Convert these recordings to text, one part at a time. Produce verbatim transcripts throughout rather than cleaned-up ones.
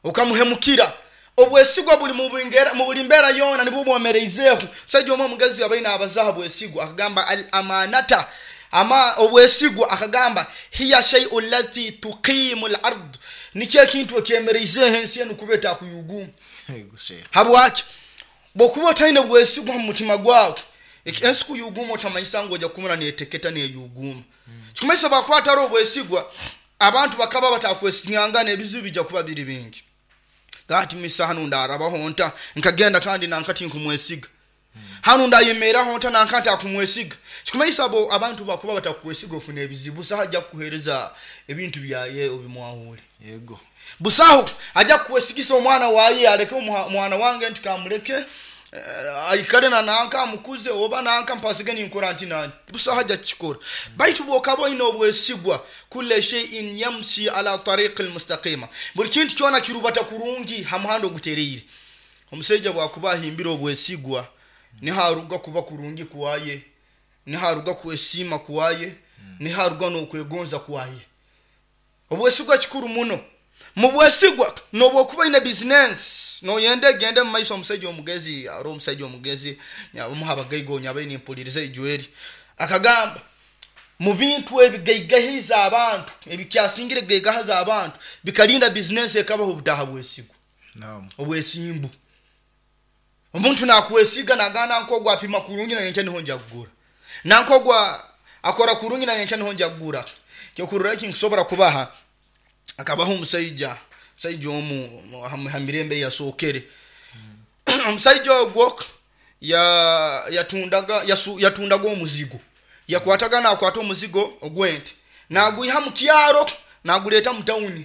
Okamuhemukira. Obwesigwa buli mu bingera- mu buli mbeera yoona nibwo bwomereizeeho. Omusajja omu omugezi abaine abazaha bwesigwa akagamba al amanata ama obwesigwa, akagamba hiya shaiu lati tuqimu l ard, nikyo ekintu ekyemereizeeho ensi enu kuba etakuyuguma. Yego sheikh. Habwaki? Bwokuba otaine bwesigwa mu mutima gwawe, eki- ensi kuyuguma otamanyisa ngu ojja kumura neteketa neyuguma. Kikumanyisa bwakuba atari obwesigwa, abantu bakaba batakwesinyangana, ebizibu bijja kuba biri bingi. Gati misa hanu ndarabaho nta nkagenda kandi nankati nkumwesiga, hanu ndayemeraho nta nankati akumwesiga. Kikumanyisa bo abantu bakuba batakukwesiga ofuna ebizibu. Busaho ajja kukuhereza ebintu byaye obimwahure. Yego. Busaho ajja kukwesigisa omwana waye aleke omuha- omwana wange nti kamuleke, eh, aikale na nanka amukuze oba nanka mpasige ninkora nti nani. Busaho ajja kukikora. Baitu bwokaba oine obwesigwa, kula shay'in yamshi ala tariqi almustaqima, buli kintu kyona kirubata kurungi ha muhanda ogutereire. Omusaija bwakuba ahimbire obwesigwa, niharuga kuba kurungi kwaye, niharuga kwesiima kwaye, niharuga n'okwegonza kwaye. Obwesigwa kikuru muno. Mu bwesigwa nobwokuba oine bizinensi noyenda egende mu maiso. Omusajja omugezi, ari omusajja omugezi omuha abagaiga onyabaire nimpuliriza ijweri, akagamba mu bintu ebigaigahiza abantu, ebikyasingire kugaigahaza abantu bikalinda bizinensi ekabaho, obutaha bwesigwa. Naam. Obwesimbu. Omuntu nakwesiga nagana nkogwa apima kurungi nanyenkya niho nja kugura, nankogwa akora kurungi nanyenkya niho nja kugura. Kyokurora eki nkusobora kubaha, akabaho omusaija, omusaija omu ha- ha mirembe yasookere. Omusaija ogwo ya- yatundaga yasu- yatundaga omuzigo. Yakwataga nakwata omuzigo ogwente nagwiha mu kyaro naguleta mu tawuni,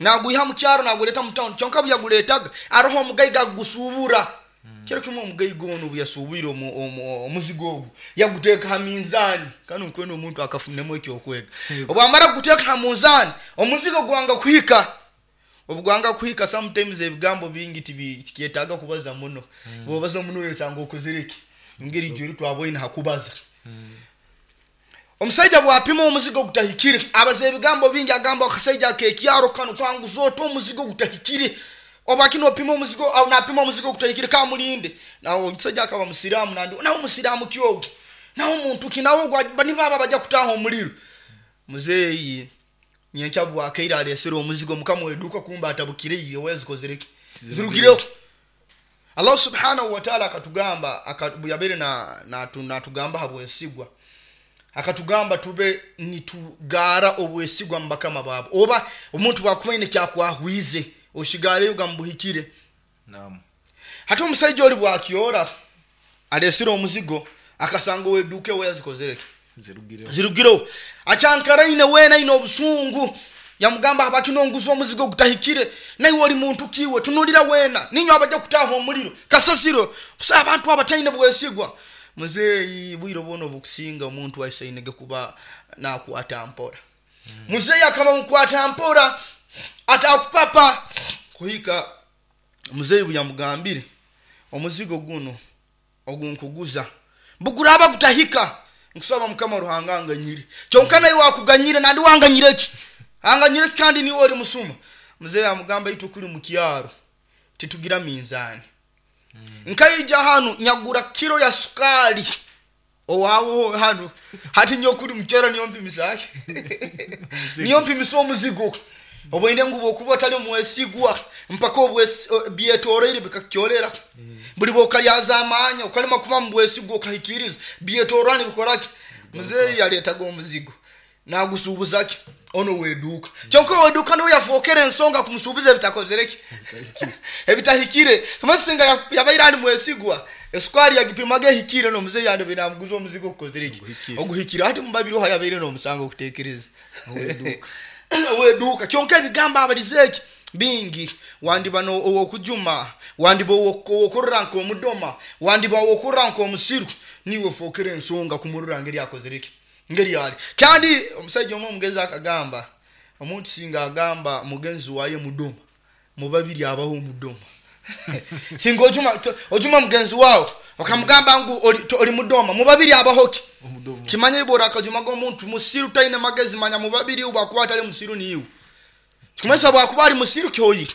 nagwiha mu kyaro naguleta mu tawuni. Kyonka buyaguletaga aroho omugaiga agusubura. Kiro kimu omugaiga onu obuyasubwire omu- omu- omuzigo ogu yaguteeka ha minzaani. Kanu nkwenda omuntu akafunemu ekyokwega. Obwamara kuguteeka ha munzaani, omuzigo gwanga kuhika. Obugwanga kuhika, sometimes ebigambo bingi tibi- tikyetaaga kubaza muno. Bwobaza muno wesanga okozere ki ngeri ijweri twaboine hakubaza. Omusaija bwapima omuzigo gutahikire, abaza ebigambo bingi, agamba akasaija akekyaro kanu kwanguza ota omuzigo gutahikire? Oba kino opima omuzigo au napima omuzigo gutahikire, kamulinde. Nawe omusajja akaba musiramu, nandi nawe musiramu kyogo, nawe omuntu ki, nawe ogwa- nibaba bajja kutaha omuliro. Muzeeyi nyenkya bwakaire alesere omuzigo, mukama weduuka kumba atabukire wezikozereki zirugireho. Allah subhanahu wa taala akatugamba, aka- bwe na natugamba natugamba habwesigwa, akatugamba tube nitugara obwesigwa mu bakama baabo. Oba omuntu bwakumaine kyakwahwize oshigareyo gamubuhikire. Naam. Hati omusaija oli bwakyora alesere omuzigo, akasanga oweduuka ewe yazikozereki Zirugireho. Zirugireho. Acyankaraine weena aine obusungu, yamugamba habaki nonguza omuzigo gutahikire? Naiwe oli muntu kiwe? Tunulira weena ninywe abajja kutaha omuliro kasasiro. Busa abantu abataine bwesigwa. Muzeeyi bwire bwona obukusinga omuntu aisainege kuba nakwata mpora. Muzeeyi akaba mukwata mpora atakupapa kuhika muzeeyi buyamugambire omuzigo guno ogunkuguza buguraba gutahika, nkusaba mukama Ruhanga anganyire. Kyonka naye wakuganyire nandi wanganyire ki? Anganyire ki kandi niwe oli musuma? Muzeeyi amugamba itwe kuli mu kyaro titugira minzaani, nkaija hanu nyagura kiro ya sukali owawo hanu. Hati nyo kuli mukyaro niyo mpimisaki, niyo mpimisa omuzigo. Obwende ngu bwokuba otali mwesigwa mpaka obwesi- byetoroire bikakukyolera. Buli bwokalyaza amaanya okalema kuba mu bwesigwa okahikiriza, byetorora nibikoraki. Muzeeyi yaletaga omuzigo nagusuubuzaki ono weduuka. Kyonka weduuka niwe yafookera ensonga kumusuubuza ebitakozereki, ebitahikire. Tumasinga yabaire ali mwesigwa, esukari yagipimaga ehikire, nomuzeeyi yandi namuguza omuzigo okukozereki Oguhikire. Oguhikire. Hati mubabiri oha yabaire nomusango okutekereza? Oweduuka. Oweduuka. Kyonka ebigambo abalize eki bingi, wandiba no- owokujuma, wandiba owokurora nk'omudoma, wandiba owokurora nk'omusiru, niwe fookera ensonga kumurora ngeri akozereki ngeri ali. Kandi omusajja omu omugezi akagamba omuntu singa agamba mugenzi waye mudoma, mubabiri abaho omudoma. Singa ojuma to- ojuma mugenzi wawe okamugamba ngu oli, to- oli mudoma, mubabiri abaho ki? Omudomo. Kimanya ibora akajumaga omuntu musiru taine magezi, manya mubabiri bwakuba atali musiru niiwe. Kikumanyisa bwakuba ali musiru kyoyire.